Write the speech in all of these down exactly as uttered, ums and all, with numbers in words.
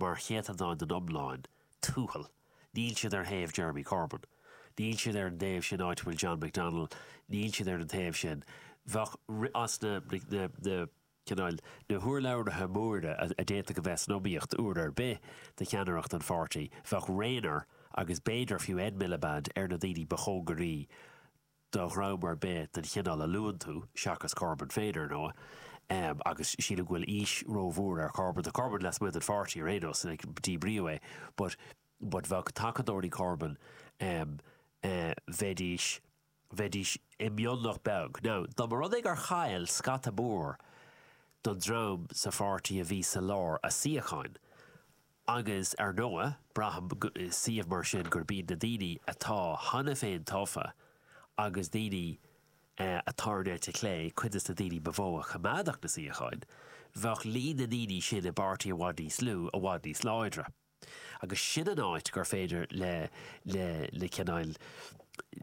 mar chéatadán den iomlán tuathal. Níl siad ar thaobh Jeremy Corbyn. Níl siad ar an dtaobh sin áit bhfuil John McDonnell, níl siad ar an taobh sin. Bheadh as na na na cineál na hurlabhraithe móra a d'fhéadfadh a bheith san iomaíocht uair ar bith do cheannaireacht an pháirtí, bheadh Rayner agus b'fhéidir fiú Ed Miliband ar na daoine ba chóngaraí do dhream ar bith den chineál a luann tú, seachas Corbyn féin ar ndóigh. Um, agus sílim go bhfuil aois rómhór ar Corbyn. Tá Corbyn lasmuigh den pháirtí ar aon nós, like, díbríodh é, but, but bheadh tacadóirí Corbyn um, uh, bheidís bheidís i mionlach beag. Now, dá mba rud é gur chaill scata mór don dream sa pháirtí a bhí sa lár a suíocháin. Agus ar ndóigh, braithim suíomh mar sin gurb iad na daoine atá cheana féin tofa agus daoine uh, atá ar an eite chlé, cuid de na daoine ba mhó a choimeádfadh na suíocháin, bheadh líon na ndaoine sin i bpáirtí i bhfad níos lú, i bhfad níos láidre. Agus sin an áit gur féidir le le le cineál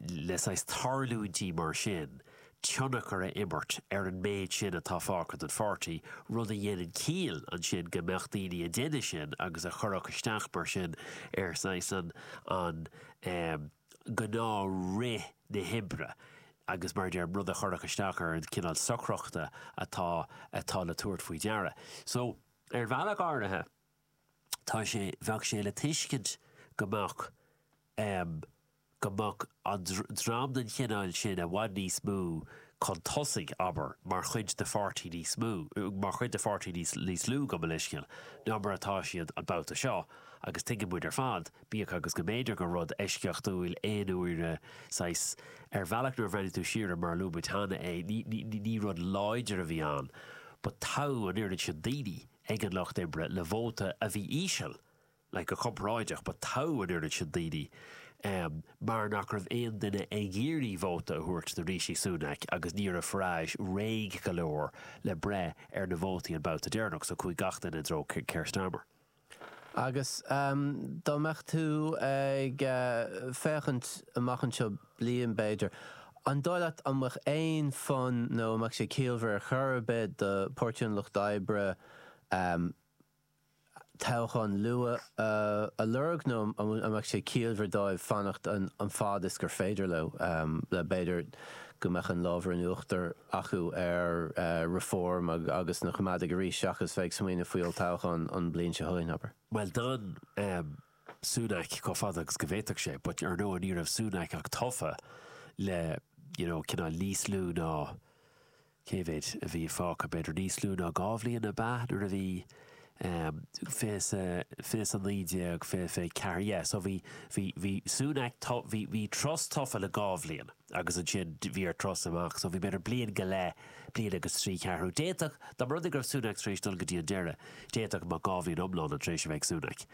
le saghas tarlúintí mar sin tionchar a imirt ar an méid sin atá fágtha den pháirtí, rud a dhéanann ciall ansin go mbeadh daoine a déanamh sin agus a chuirfeadh isteach mar sin ar saghas an an um, gnáthrith na hoibre agus mar deir rud a chuirfeadh isteach ar an cineál socrachta atá atá le tabhairt faoi deara. So ar bhealach áirithe tá sé bheadh sé le tuiscint go mbeadh um, go mbeadh an dream den chineál sin i bhfad níos mó chun tosaigh abair mar chuid de pháirtí níos mó, mar chuid de pháirtí níos níos lú go leisciil ná mar atá siad an babhta seo agus tuigeann muid ar fad, bíodh agus go mb'fhéidir gur rud eisceachtúil aon uaire saghas ar bhealach nuair a bhreathnaíonn tú siar mar luaigh muid cheana é ní, ní, ní rud láidir a bhí ann, but toghadh an oiread sin daoine ag an lucht oibre le vóta a bhí íseal, like go comparáideach, but toghadh an oiread sin daoine um, mar nach raibh aon duine ag iarraidh vóta a thabhairt do Rishi Sunak agus ní raibh Farage réidh go leor le breith ar na vótaí an babhta deireanach, so chuaigh gach duine i dtreo Keir Starmer. Agus um, dá mbeadh tú ag uh, féachaint amach anseo bliain b'fhéidir, an dóigh leat an mbeadh aon fonn nó an mbeadh sé ciallmhar ar chor ar bith do Pháirtí an Lucht Oibre um, toghchán luath uh, a lorg nó an mbeadh sé ciallmhar dóibh fanacht an, an fad is gur féidir leo um, le b'fhéidir go mbeadh an lámh in uachtar acu ar uh, Reform ag, agus na Coimeádaigh arís seachas bheith ag smaoineamh faoi toghchán an bhliain seo chugainn abair. Well d'fhan um, Sunak chomh fada agus go bhféadfadh sé, but ar ndóigh ní raibh Sunak ach tofa le you know, cineál níos lú ná cé mhéad a bhí fágtha b'fhéidir níos lú ná dhá bhliain a bheith nuair a bhí um, fiche naoi déag fiche fiche ceathair yeah, so bhí bhí bhí Sunak bhí bhí Truss tofa le dhá bhliain agus ansin bhí ar Truss amach, so bhí b'fhéidir bliain go leith bliain agus trí ceathrú. D'fhéadfadh dá mba rud é go raibh Sunak tar éis dul go dtí an deireadh, d'fhéadfadh go mbeadh dhá bhliain iomlán an tréis a bheith Sunak.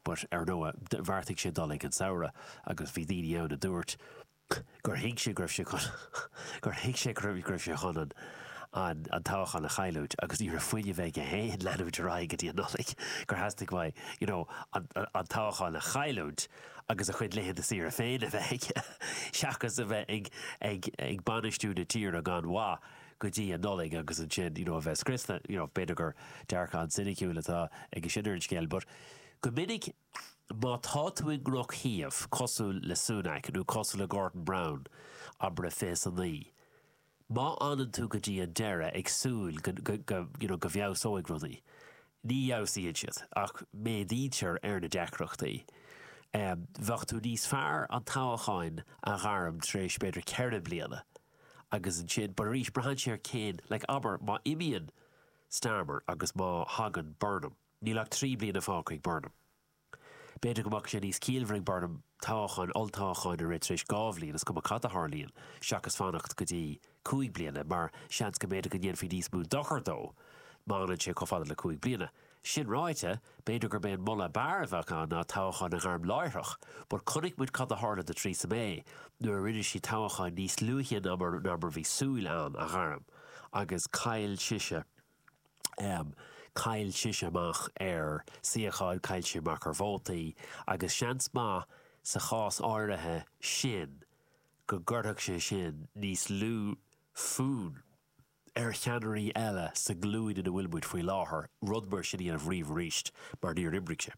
But ar ndóigh bheartaigh sé dul ag an samhradh agus bhí daoine ann a dúirt gur thuig sé go raibh sé chun gur thuig sé go raibh sé chun an an an toghchán a chailliúint agus ní raibh fuinneamh aige féin leanúint ar aghaidh go dtí an Nollaig gur theastaigh uaidh you know, an, an toghchán a chailliúint agus a chuid laethanta saoire féin a bheith aige seachas a bheith ag, ag, ag bainistiú na tíre gan mhaith go dtí an Nollaig agus ansin you know, a bheith scriosta you know, b'fhéidir gur dearcadh an soiniciúil atá ag sin ar an scéal, but go minic má tá tú i ndrochshuíomh cosúil le Sunak nó cosúil le Gordon Brown abair fiche a naoi. Má fhanann tú go dtí an deireadh ag súil go, go, go, you know, go bhfeabhsóidh rudaí. Ní fheabhsaíonn siad ach méadaítear ar na deacrachtaí. Um, bheadh tú níos fearr an toghchán a ghairm tar éis b'fhéidir ceithre bliana. agus ansin, but arís braitheann sé ar cén, like abair má imíonn Starmer agus má thagann Burnham. Níl ach trí bliana fágtha ag Burnham. B'fhéidir go mbeadh sé níos ciallmhaire ag Burnham toghchán olltoghchán a rith tar éis dhá bhliain is cuma cad a tharlaíonn seachas fanacht go dtí cúig bliana mar seans go mb'fhéidir go ndéanfaí níos mó dochar dó má fhanann sé chomh fada le cúig bliana. Sin ráite, b'fhéidir gurb é an moladh b'fhearr a bheadh ann ná toghchán a ghairm láithreach, but chonaic muid cad a tharla do Theresa May nuair a rinne sí toghchán níos luaithe ná mar ná mar bhí súil ann a ghairm agus chaill sise um, chaill sise amach ar suíocháin chaill sí amach ar vótaí agus seans maith sa chás áirithe sin go gcuirfeadh sé sin níos lú fonn ar cheannairí eile sa ghlúin ina bhfuil muid faoi láthair rud mar sin a dhéanamh riamh arís mar níor oibrigh sé.